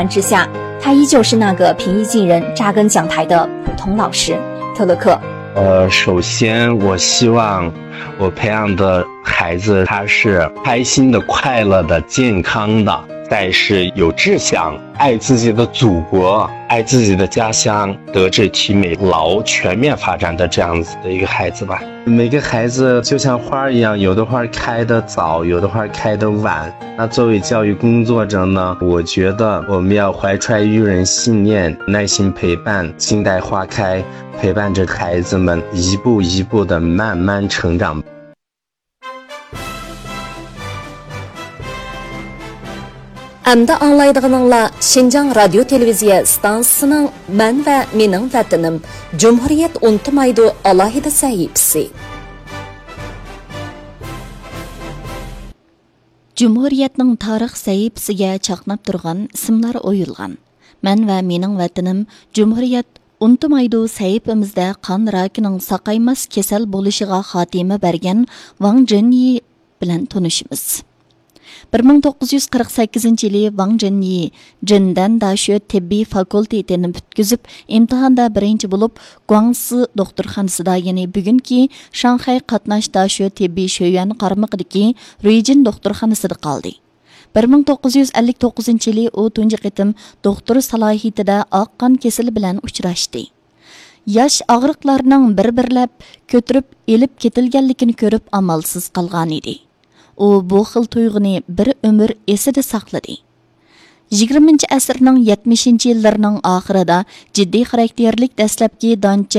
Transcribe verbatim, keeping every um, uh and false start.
之下，他依旧是那个平易近人、扎根讲台的普通老师。特勒克。呃，首先我希望我培养的孩子他是开心的、快乐的、健康的，但是有志向，爱自己的祖国，爱自己的家乡，德智体美劳全面发展的这样子的一个孩子吧。每个孩子就像花儿一样，有的花儿开得早，有的花儿开得晚。那作为教育工作者呢，我觉得我们要怀揣育人信念，耐心陪伴，静待花开，陪伴着孩子们一步一步的慢慢成长。 ئەمدى ئاڭلايدىغىنىڭلار شىنجاڭ رادىيو تېلېۋىزىيە ئىستانسىسىنىڭ مەن ۋە مېنىڭ ۋەتىنىم، جۇمھۇرىيەت ئۇنتۇمايدۇ ئالاھىدە سەھىپىسى. جۇمھۇرىيەتنىڭ تارىخ سەھىپىسىگە چاقناپ تۇرغان ئىسىملار ئويۇلغان. مەن ۋە مېنىڭ ۋەتىنىم، جۇمھۇرىيەت ئۇنتۇمايدۇ سەھىپىمىزدە قان راكىنىڭ ساقايماس كېسەل بولۇشىغا خاتىمە بەرگەن ۋاڭ جېنيى بىلەن تونۇشىمىز. بىر مىڭ توققۇز يۈز قىرىق سەككىزىنچى يىلى ۋاڭ جېنيى جېندەن داشۆ تېببىي فاكۇلتېتىنى پۈتكۈزۈپ، ئىمتىھاندا بىرىنچى بولۇپ، گۇاڭسى دوختۇرخانىسىدا، يەنى بۈگۈنكى شاڭخەي قاتناش داشۆ تېببىي شۆيۈەن قارمىقىدىكى رۇيجىن دوختۇرخانىسىدا قالدى. بىر مىڭ توققۇز يۈز ئەللىك توققۇزىنچى يىلى ئۇ تۇنجى قېتىم دوختۇر سالاھىيىتىدە ئاق قان كېسىلى بىلەن ئۇچراشتى. ياش ئاغرىقلارنىڭ بىر-بىرلەپ كۆتۈرۈپ ئېلىپ كېتىلگەنلىكىنى كۆرۈپ ئامالسىز قالغان ئىدى. ئۇ بۇ خىل تۇيغۇنى بىر ئۆمۈر ئېسىدە ساقلىدى. يىگىرمىنچى ئەسىرنىڭ يەتمىشىنچى يىللىرىنىڭ ئاخىرىدا جىددىي خاراكتېرلىك دەسلەپكى دانچە